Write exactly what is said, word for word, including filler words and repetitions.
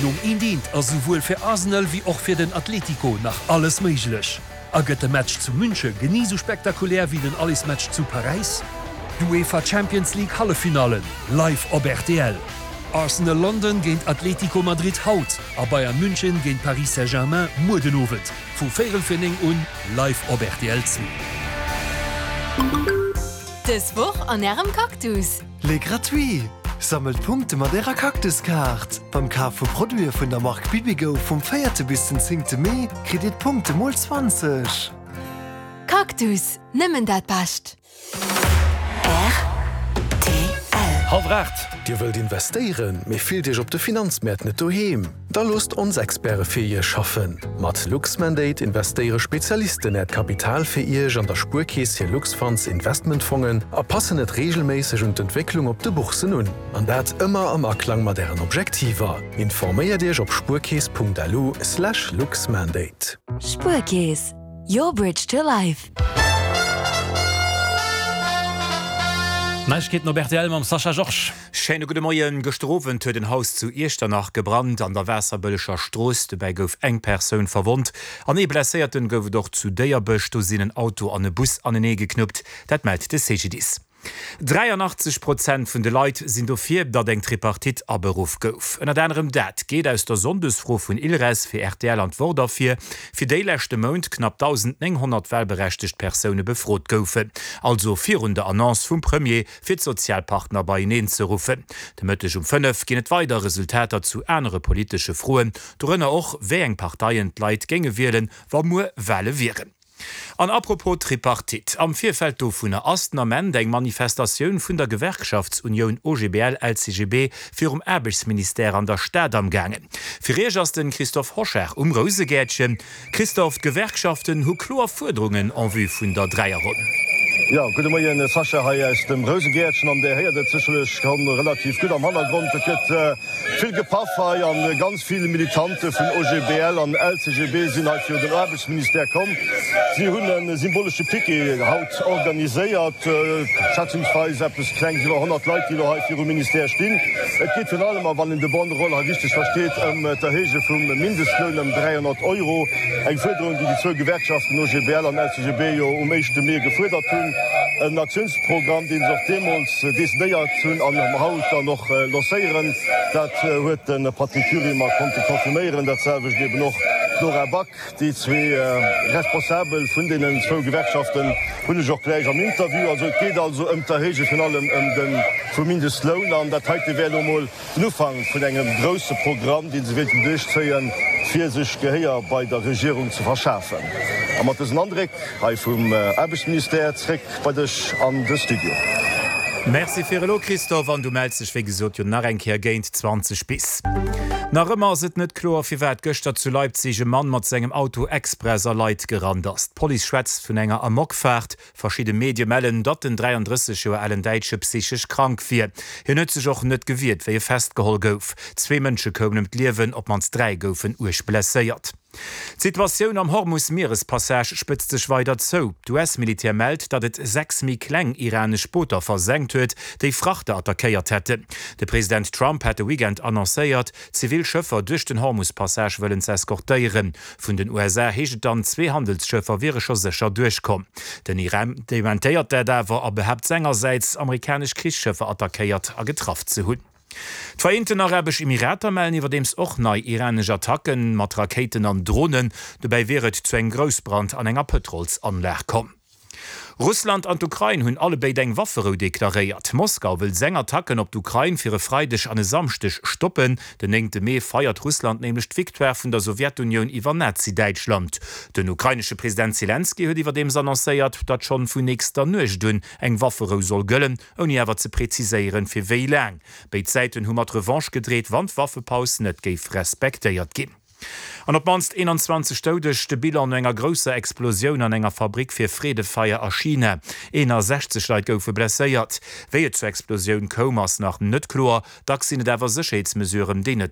Nom eent eent ass souwuel fir Arsenal wéi och fir den Atlético nach alles méiglech. A gëtt de Match zu Münche genee sou spektakulär wéi den Allersmatch zu Paräis? D'UEFA Champions League Halleffinallen live op R T L. Arsenal London géint Atlético Madrid haut a Bayern München géint Paris Saint-Germain muer den Owend vu véierel vir néng un live op R T L zwee. Dës Woch an ärem Cactus. Les gratuits! Sammelt Punkte mat ärer Cactuskaart. Beim Kaf vu Produite vun der Mark Bibigo vum véierte bis den zéngte Mee kritt dir d'Punkte mol zwanzeg. Cactus, nëmmen dat Bescht. Hallwer aacht. Dir wëllt investéieren, mee fillt iech op de Finanzmäert net doheem? Da loosst ons Experte fir iech schaffen. Mat Luxmandate investéiere Spezialisten äert Kapital fir iech an der Spuerkeess hir Luxfonds Investmentfongen a passen et reegelméisseg un d'Entwécklung op de Boursen un. An dat ëmmer am Aklang mat ären Objektiver. Informéiert iech op spuerkeess Punkt L U slash Luxmandate. Spuerkeess, your bridge to life. Neiegkeeten op R T L mam Sascha Georges. Schéine gudde Moien. Gëschter Owend huet en Haus zu Iechternach gebrannt an der Waasserbëlleger Strooss. Dobäi gouf eng Persoun verwonnt. An ee Blesséierten gouf et och zu Déierbech. Do sinn en Auto an e Bus anenee geknuppt. Dat mellt de C G D I S. dräianachtzeg Prozent vun de Leit sinn dofir, datt eng Tripartite aberuff gouf. Ënnert anerem dat geet aus der Sonndesfro vun Ilres fir R T L an d'Wort ervir, fir déi leschte Mount knapp dausendnénghonnert walberechtegt Persoune befrot goufen. Also virun der Annonce vum Premier fir d'Sozialpartner beieneen ze ruffen. De Mëtteg um fënnef ginn et weider Resultater zu anere politesche Froen, dorënner och wéi eng Parteien d'Leit géinge wielen, wa muer Wale wieren. An apropos Tripartite, am Virfeld dovunner ass den Ament eng Manifestatioun vun der Gewerkschaftsunioun O G B L L C G B virum Aarbechtsministère an der Stad am gaangen. Fir iech ass de Christophe Hochard um Rousegäertchen. Christophe, d'Gewerkschaften hu kloer Fuerderungen en vue vun der Dräierronn. Jo, gudde Moien Sascha, hei aus dem Rousegäertchen an dir héiert et sécherlech schonn relativ gutt am Hannergrond. Et gëtt vill gepaff hei an ganz vill Militante vun O G B L an L C G B sinn hei virun den Aarbechtsministère komm. Si hunn e symbolesche Piquet haut organiséiert, schätzungsweis eppes klengs iwwer honnert Leit, déi elo hei virum Ministère stinn. Et geet virun allem, a wann een de Banderole hei richteg versteet, ëm d'Erhéije vum Mindestloun ëm dräihonnert Euro. Eng Fuerderung, déi déi zwou Gewerkschaften O G B L an L C G B jo um éischte Mee gefuerdert hunn. En Aktiounsprogramm, deen se och deemools decidéiert hunn an haut dann och lancéieren. Dat huet de Patrick Dury mer konnte confirméieren, dat selwecht eben och d'Nora Back. Déi zwee Responsabel vun deenen zwou Gewerkschaften hunn ech och gläich am Interview. Also et geet also ëm d'Erhéije virun allem ëm de vum Mindestloun an dat heite wär elo mol den Ufank vun engem grousse Programm, dee se wéilten duerchzéien, fir sech Gehéier bei der Regierung ze verschafen. A mat dësen Andréck hei vum Aarbechtsministère zréck bei dech an de Studio. Merci fir elo Christophe, an du mells dech wéi gesot jo nach eng Kéier géint zwanzeg bis. Nach ëmmer ass et net kloer, firwat gëschter zu Leipzig e Mann mat sengem Auto express a Leit gerannt ass. D'Police schwätzt vun enger Amokfaart. Verschidde Medie mellen, datt den dräiandrësseg Joer alen Däitsche psychesch krank wier. Hien huet sech och net gewiert, wéi e festgeholl gouf. Zwee Mënsche koumen ëm d'Liewen, op d'mannst dräi goufen uerg blesséiert. D'Situatioun am Hormus-Mierespassage spëtzt sech weider zou. D'U S-Militär mellt, datt et sechs méi kleng iranesch Booter versenkt huet, déi Frachter attackéiert hätten. De President Trump hat de Weekend annoncéiert, zivil Schëffer duerch den Hormus-Passage wëllen ze eskortéieren. Vun den U S A heescht et dann, zwee Handelsschëffer wiere scho sécher duerchkomm. Den Iran dementéiert dat awer a behaapt sengersäits, amerikanesch Krichsschëffer attackéiert a getraff ze hunn. D'Vereenten Arabesch Emirater mellen iwwerdeems och nei iranesch Attacken mat Rakéiten an Dronen. Dobäi wier et zu engem Groussbrand an enger Pëtrolsanlag komm. Russland an d'Ukrain hunn allebéid eng Wafferou deklaréiert. Moskau wëll seng Attacken op d'Ukrain fir e Freideg an e Samschdeg stoppen. Den néngte Mee feiert Russland nämlech d'Victoire vun der Sowjetunioun iwwer Nazi-Däitschland. Den ukrainesche President Selenskyj huet iwwerdeems annoncéiert, datt schonn vun nächster Nuecht un eng Wafferou soll gëllen, ouni awer ze preziséieren, fir wéi laang. Béid Säiten hu mat Revanche gedreet, wann d'Waffepaus net géif respektéiert ginn. An op d'mannst eenanzwanzeg Doudeg, de Bilan no enger grousser Explosioun an enger Fabrick fir Freedefeier a China. eenasechzeg Leit goufe blesséiert. Wéi et zur Explosioun koum, ass nach net kloer. Dacks sinn et awer Sécherheetsmesuren, déi net